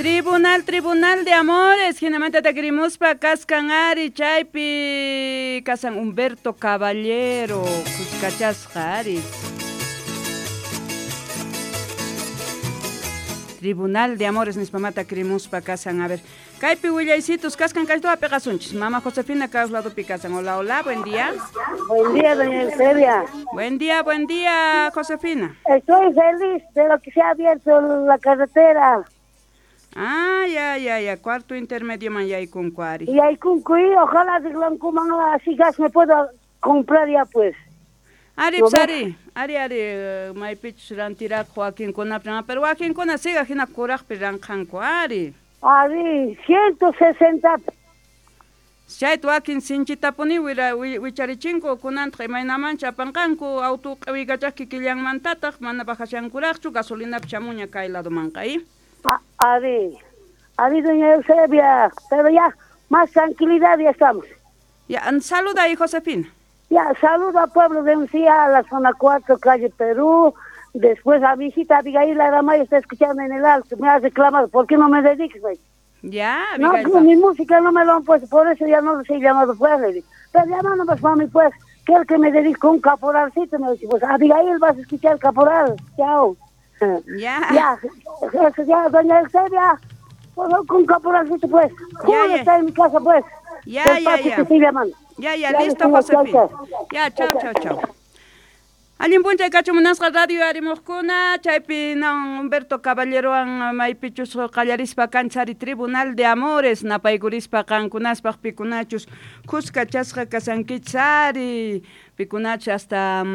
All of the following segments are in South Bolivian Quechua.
Tribunal, Tribunal de Amores, hinamanta takirimuspa kaskan ari chaypi kasan Humberto Caballero, kuskachasqa ari. Tribunal de Amores nispamata kirimuspa kasan, a ver. Kaypi willaysitos kaskan kaytuwa peqasunchis. Mama Josefina ladopi kasan. Hola, hola, buen día. Buen día, doña Eusebia. Buen día, Josefina. Estoy feliz de lo que se ha abierto la carretera. Ah, ya, ya, ya, cuarto intermedio man yaykunku ari. Yaykunku, y ojalá arreglankuman así gas me puedo comprar ya pues. Ari, pues, ari, ari, ari, maypichus rantiraq wakinkunapaq, pero wakinkuna siga hina kuraqpi ranqanku, ari. Ari, 160. Chayta wakin sinchitapuni wicharichinku kunantaq imaynamancha apanqanku auto q'iwikachaq kikillanmantataq mana bajashankuraqchu gasolinapi chamuña kay ladomanqa, ¿eh? Ari, ari, doña Eusebia, pero ya, más tranquilidad ya estamos. Ya, saluda ahí, Josefina. Ya, saludo al pueblo de Uncía, a la zona 4, calle Perú. Después a mi hijita Abigail Aramayo está escuchando en el alto, me ha reclamado, ¿por qué no me dedicas, güey? Ya, Abigail. No, mi música no me lo han puesto, por eso ya no los he llamado, pues, le digo. Pero llámanos, pues, mami, pues, quiero que me dedique un caporalcito, me dice, pues, Abigail, vas a escuchar caporal, chao. Ya. Ya, eso ya, doña Eusebia, pues, con caporalcito, pues. Ya, ya. Está en mi casa, pues. Ya, ya, ya. Ya, ya, listo, Josefina. Ya, chao, chao, chao. Allin p'unchay kachu munasqa radio arimuqkuna, chaypi nan Humberto Caballerowan maypichus qallarispa kanchari Tribunal de Amores, napaykurispa qankunaspaq pikunachus kuskachasqa kasankichis ari, pikunachus hasta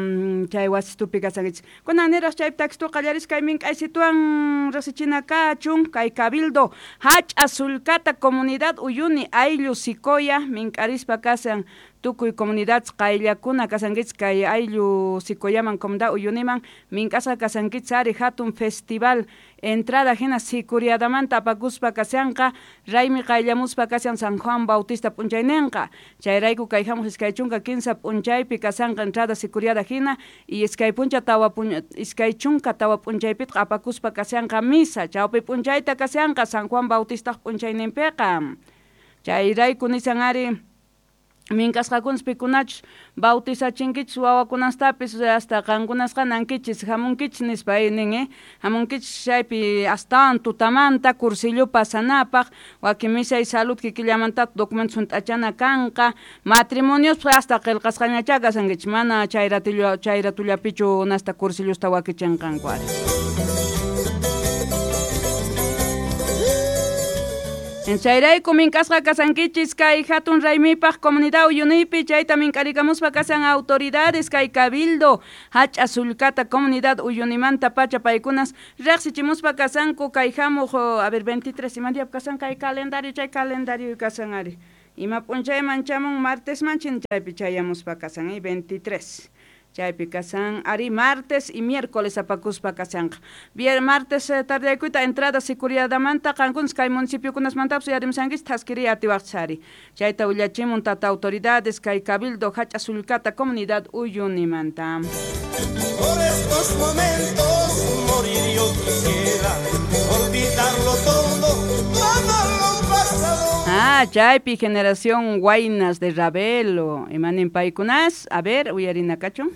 chay wasitupi kasankichis. Kunan niraq chaypi taxitu qallaris kay mink'aysituwan riqsichina kachun, kay Cabildo Hach'a Sulkata Comunidad Uyuni Ayllu Sikoya mink'arispa kasan tukuy comunidad qayllakuna kasankichis kay ayllu Sikoyaman comunidad Uyuniman mink'asqa kasankichis ari hatun festival entrada hina sikuriadamanta apakuspa kashanqa raymi qayllamuspa kashan San Juan Bautista p'unchayninqa chayrayku kay hamuq 23 p'unchaypi kashanqa entrada sikuriada hina y 24 p'unchaypitaq apakuspa kashanqa misa chawpi p'unchayta kashanqa San Juan Bautistaq p'unchayninpiqa chayrayku nisan ari mink'asqakunas pikunachus bautizachinkichis wawakunastapis hasta qankunasqa nankichis hamunkichis nispa nin hamunkichis chaypi astawan tutamanta cursillo pasanapaq wakin misa y salud kikillamantata documentos hunt'achana kanqa matrimoniospa hasta qillqasqañachá kasankichis mana chayratullapichu nasta cursillosta wakichinqanku ari. Chayrayku mink'asqa kasankichis kay hatun raymipaq comunidad Uyunipi chayta mink'arikamuspa kasan autoridades kay Cabildo Hach'a Sulkata comunidad Uyunimanta pacha paykunas riqsichimuspa kasanku kay hamuq a ver 23 ima día kasan kay calendario chay calendario kasan ari ima p'unchayman chamun martes manchin chaypi chayamuspa kasan 23 chaypi kasan ari martes y miércoles apakuspa kasanqa martes tardeykuyta entrada sikuriadamanta qankunas kay municipiokunasmantapis uyarimsankichis thaskiriy atiwaqchis ari chayta willachimun tata autoridades kay Cabildo Hach'a Sulkata comunidad Uyunimanta. Por estos momentos morir yo quisiera, olvidarlo todo, todo lo pasado. Ah, chaypi generación Guaynas de Ravelo, imanin paykunas, a ver, uyarina kachu.